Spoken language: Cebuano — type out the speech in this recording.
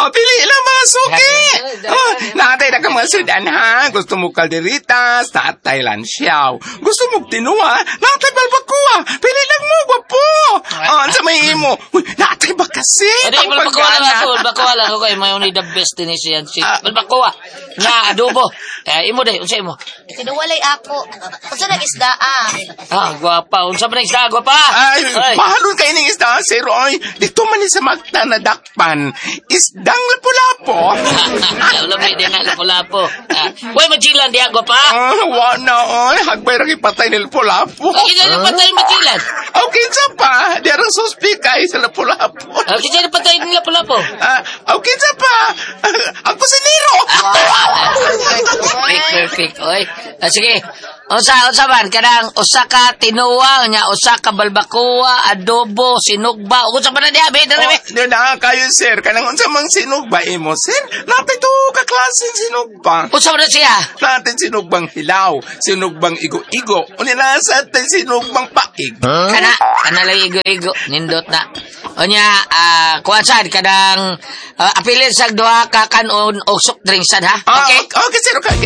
Oh, pili lang, mga suki. Oh, naa tay na ka mga sudan ha. Gusto mo kalderitas, naa tay lansiyaw. Gusto mo tinuwa, naa tay balbakuha. Pili lang mo, gwapo. Oh, unsa may imo? Uy, naa tay bakasit. Adi, Ang balbakuha lang pagkana. Ako. Balbakuha lang ako. May only the best din siya. Si Ah. balbakuha. Na adobo. Eh, imo day, unsa imo? Tinuwalay ako. Unsa nang isda ah? Ah, gwapa. Unsa man ang isda, gwapa? Ay, mahalon kayo ng isda, sir. Oy, dito man ni sa Magta na dakpan. Isdang lapu-lapo. Lami din nga lapu-lapo. Ah, way majilan diha, gwapa. Ah, wa na, oy. Hagbay ra patay ni lapu-lapu. Ay, kinsa na patay majilan? Aw, kinsa pa? Di arang suspect ay sa lapu-lapu. Ah, kinsa na patay ni lapu-lapu? Ah, aw, kinsa pa? Ang kusinero. Perfect, perfect. Oy. Ah, sige. Unsa man kanang usa ka tinuwa nya usa ka balbakuwa, adobo, sinugba. Unsa man na diha, be, dali, be. Oh, di na kayo, sir. Kanang unsa mang sinugba imo, sir? Naa tay tuo ka klaseng sinugba. Unsa man na siya? Naa tay sinugbang hilaw, sinugbang igo-igo, unya naa sad tay sinugbang paig. Kana lang igo-igo, nindot na. Unya, ah, kuan sad kanang apilin sa duha ka kanon og soft drinks sad ha. Ah, Okay? okay, sir. Okay.